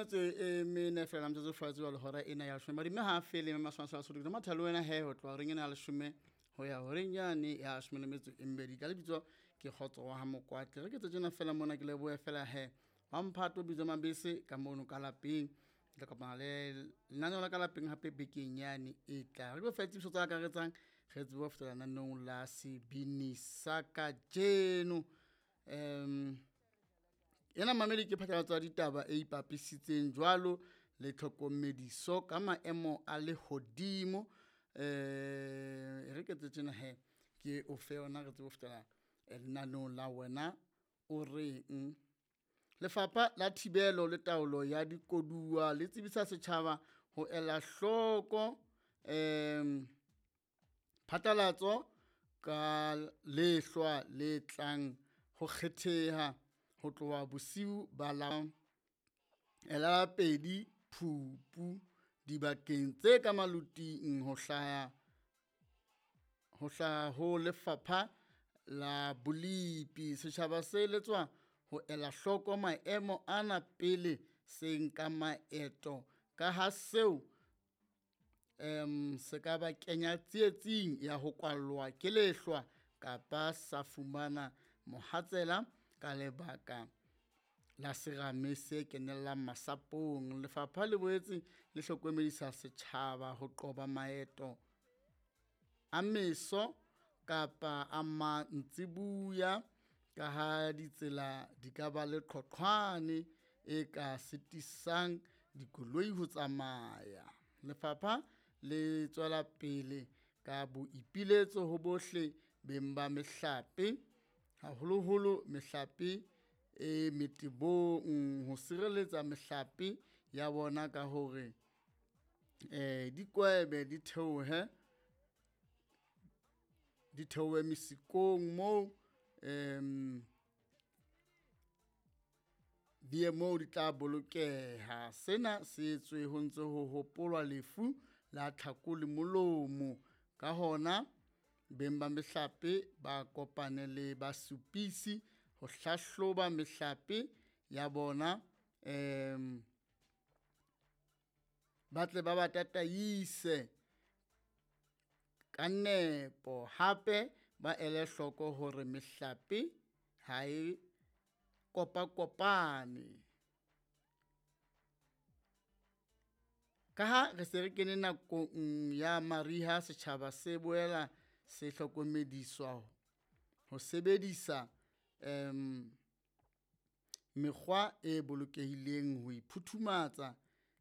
Metso e mene fela metsotso fatshe jwale hora ena ya leshome madime ha a fele mme maswana sa Lesotho ke matha le wena he ho tloha horeng ena ya leshome ho ya horeng yane ya leshome le metso e mmedi. Ka lebitso ke Kgotso wa ha Mokwatle. Re ke tse tjena fela mona ke lebohe fela he wa mphato bitso Mabese ka mono ka lapeng. Ke tla kopana le lenaneo la ka lapeng hape bekeng yane e tlang. Re tlo fa tsebiso tse akaretsang re tsebe ho fetela lenaneong la sebini sa kajeno. Ena mamedi ke phatlalatso ya ditaba e ipapisitseng jwalo le tlhokomediso ka maemo a lehodimo. Re ke etse tjena he ke o fe yona re tsebe ho fetela lenaneong la wena o reng. Lefapha la Thibelo le Taolo ya Dikoduwa le tsebisa setjhaba ho ela hloko phatlalatso ka lehlwa le tlang ho kgetheha ho tloha bosiu ba la la 2 Phupu dibakeng tse ka maloting ho hlaha ho Lefapha la Bolipi. Setjhaba se eletswa ho ela hloko maemo ana pele se nka maeto ka ha seo se ka ba kenya tsietsing ya ho kwallwa ke lehlwa kapa sa fumana mohatsela ka lebaka la serame se kenellang masapong. Lefapha le boetse le hlokomedisa setjhaba ho qoba maeto a meso kapa a mantsiboya ka ha ditsela di ka ba le qhoqhwane e ka sitisang dikoloi ho tsamaya. Lefapha le tswela pele ka boipiletso ho bohle beng ba mehlape, haholoholo mehlape e metebong, ho sireletsa mehlape ya bona ka hore dikwebe di theohe mesikong moo di ye moo di tla bolokeha. Sena se etswe ho ntse ho hopolwa lefu la tlhako le molomo. Ka hona beng ba mehlape ba kopane le basupisi ho hlahloba mehlape ya bona, ba tle ba ba tataise ka nepo. Hape ba ele hloko hore mehlape ha e kopakopane. Ka ha re se re kene nakong ya mariha, setjhaba se boela se hlokomediswa ho sebedisa mekgwa e bolokehileng ho iphuthumatsa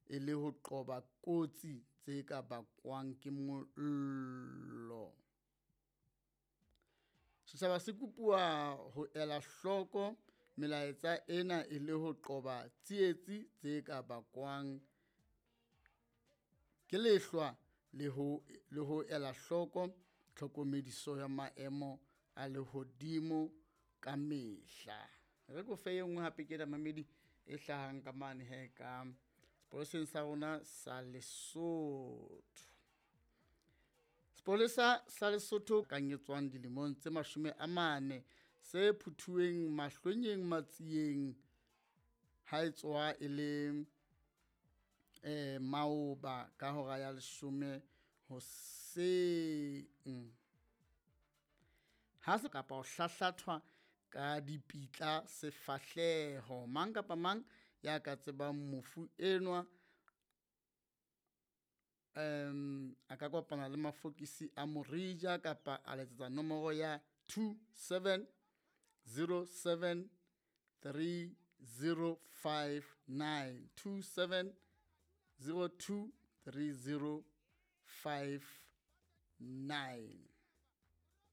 e le ho qoba kotsi tse ka bakwang ke mollo. Setjhaba se kopuwa ho ela hloko melaetsa ena e le ho qoba tsietsi tse ka bakwang ke lehlwa le ho ela hloko tlhokomediso ya maemo a lehodimo ka mehla. Re ko fe e nngwe hape ke mamedi e hlahang ka mane he ka sepoleseng sa rona sa Lesotho. Sepolesa sa Lesotho kanyetswang dilemong tse 40 se phuthuweng Mahlwenyeng Matsieng ha e tswa e le maoba ka hora ya 10 hoseng. Ha se kapa ho hlahlathwa ka dipitla sefahleho. Mang kapa mang ya ka tsebang mofu enwa a ka kopana le mafokisi a Morija kapa a letsetsa nomoro ya 2707 3059 2702 3059.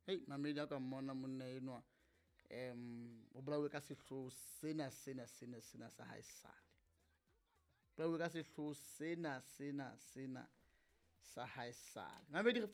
Hei mamedi a ka mmona monna enwa o bolauwe ka sehloho sena sena sena sena sa haesale. Bolauwe ka sehloho sena sena sena sa haesale. Mamedi re